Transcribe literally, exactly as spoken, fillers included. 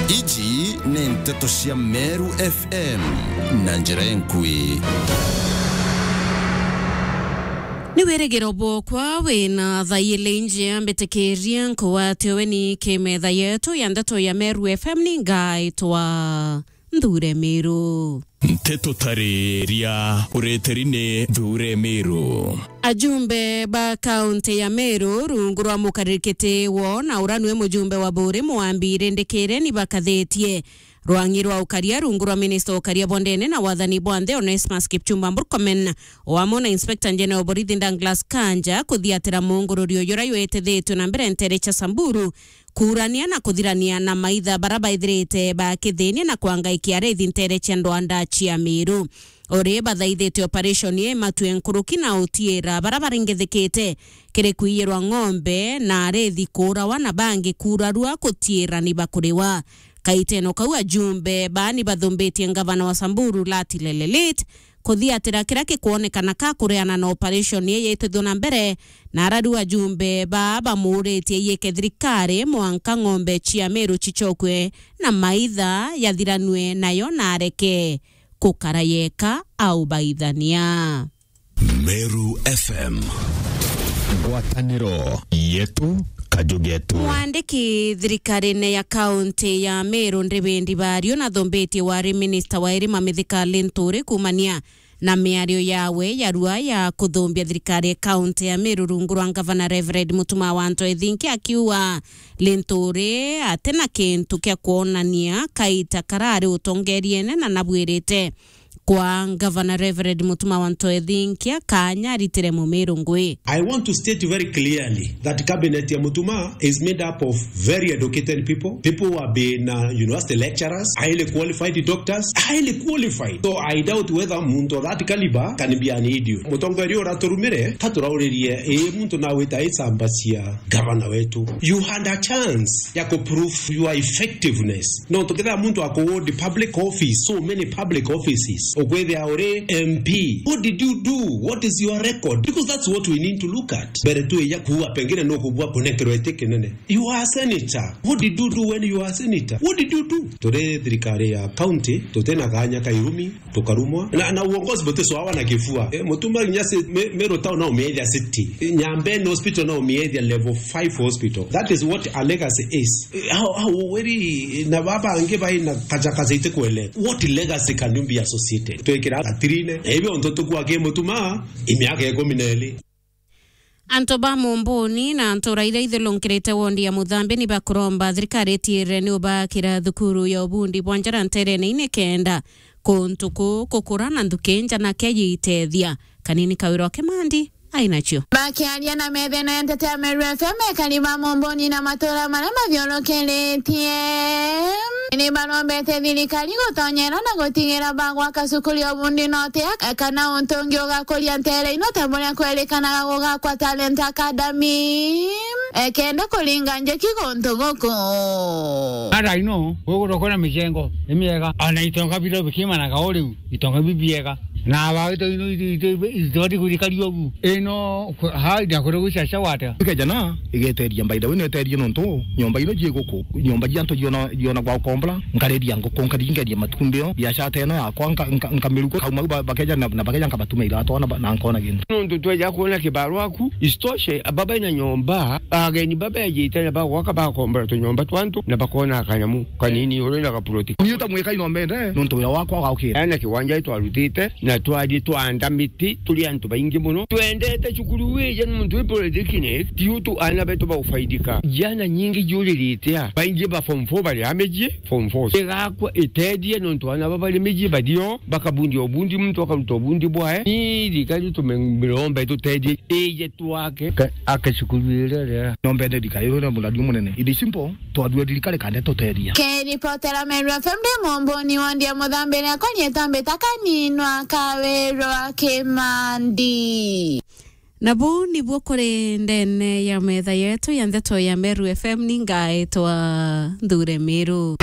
Iji ni nteto cia Meru F M na njira enkui. Ni wirigiro bwokwa wina thaili nji, mbitikirie nkugwate weni ki metha yetu ya ndeto ya Meru F M, ni ngaitwa Nthure Miru. Nteto tariria ureteri ni Nthure Miru. Ajumbe ba kaunti ya Meru rungu rwa mukaririkiti wo na ura nwe mujumbe wa Buri Mwambi Rindikire ni bakathitie rwang'i rwa ukaria rungu rwa minista wa ukaria bwa ndene na wathani bwa nthi Onesmus Kipchumba Murkomen, o amwe na Inspector General wa borithi Douglas Kanja kuthiatira mungururi uyu uria witithitue na mbere ntere cia Samburu, kuurania na kuthirania na maitha bara baithirite bakithinia na kwangaikia arithi ntere cia ndwanda cia Miru. Uri bathaithite operation ii matue nkuruki na utiira bara baringithikite kiri kwiyirwa ng'ombe na arithi kuurawa na bangi kuurarua gutiira ni bakuriwa. Kaiteno kau ajumbe baa ni bathumbitie ngavana wa Samburu Lati Lelelit kuthiatira kiria gikwonekana ka kureana na operation ii yitithua na mbere, na arariu ajumbe baa bamuuritie yike thirikari mwanka ng'ombe cia Meru cicokue na maitha yathiranue nayo na areke gukara yeka au baithania. Meru F M. Ngwataniro yetu, kaju getu. Mwandiki thirikarine ya kaunti ya Meru Ndibindi Bario nathumbitie wari minista wa irima Mithika Linturi kuumania na miario yawe ya rua ya kuthumbia thirikari ya kaunti ya Meru rungu rwa ngavana Reverend Mutuma wa Anto Ethinki, akiuga Linturi atina kintu kia kwonania kaita karari utongeriene na nabwirite kwa ngavana Reverend Mutuma wa Anto Ethinki kanya aritire Mumiru ngui. I want to state very clearly that cabinet ya Mutuma is made up of very educated people, people who have been uh, university lecturers, highly qualified doctors, highly qualified. So I doubt whether muntu of that caliber can be an idiot. Mutongoria uraturumire, taturauririe, ii muntu nawita icamba cia gavana wetu. You had a chance ya ku prove your effectiveness. No tukithira muntu aku hold public office, so many public offices, ukwithia uri M P. What did you do? What is your record? Because that's what we need to look at. Mbere tu ya kuua, pengine no kubua kunenkerwa iti kinene. You are a senator. What did you do when you are a senator? What did you do? Turi thirikari ya county, tutina kanya ka irumi, tukarumwa. Na, na uongozi buti swawa na kifua. Eh, Mutuma nginya si, me, Meru town na umiethia city. Nyambene hospital na umiethia level five hospital. That is what a legacy is. Eh, how, how, weri, na baba angi bai na kaja kaja ite kwele. What legacy can you be associated? Twekira gatirine. Ebi onto tukwa ke Mutuma, imiaka ikumi na iri. Antu ba Mumbuni na ntura iria ithirunkirite wondi ya Muthambi ni bakuromba thirikari itiirire ni ubakira thukuru ya ubundi bwa njara nterene ini kenda kuntu kuu kukura na nthuki nja na kia yiitethia. Kanini Kawira wa Kimandi ainacio. Bakiaria na methene ya nteto ya Meru F M, ekari ba Mumbuni na matura maria mathiurukiritie ni barombete thirikari gutonyera na gutigira bagwaka cukuru ya ubundi note kana untu ungi ugakuria ntere ino ta buria kwerikanaga gugakwa Talent Academy, e, kenda kuringa njiki guntu guku. Ara ino, gwe gutokona micengo imiega, ana itonga bira bikimanaga o riu, itonga bibiega. Na aba ito ino ito, ito, ito, itibati kurikaria ugu. Ino, ha, ndia kure gwicaca gwata. Ikejana, igeteria, by the way, neterie nontu nyomba ino jie guku, nyomba jia antu jiona, jiona gwa ukombora, nkariria nguku, nkaringeria matumbio, biashara ta ino yakwa, nka, nka, nkamiruka, kauma ba-, bakeja na, na bakeja nkabatuma iratu na ba-, na nkona gintu. Nontu tweja kuona kibaru aku, isitoshe, baba ina nyomba, ageni baba ejite na bagwaka bakombora tunyomba twa antu, na bakona kanyamu kanini uri na gaploti. Ni uta mwika ino mbende, nontu wira wakwa gaukira. Ana kiwanja twarutite, na twari twanda miti, turi antu baingi muno. Twendete cukuru wija ni muntu wi polytechnic, ti utu ana betu baufaidika. Jana nyingi juririte a. Baingi ba form four bari a miji, form four. Igakwa itethie nontu ana ba bari miji bario, bakabundia ubundi, muntu akaruta ubundi bwae. Ni thirikari tumirombe tutethie, ije twake. Ka-, ake cukuru iria ria. Nombe nde thirikari iria muradi munene. It is simple, twathue thirikari kande tuteria. Kiripotera Meru F M ndi Mumbuni wondi ya Muthambiri akwa rietwa mbita Kaninwa Kawirwa Kimandi. Na buu nibuo kuri ndene ya metha yetu ya ndeto ya Meru F M, ni ngaetwa Nthure Miru.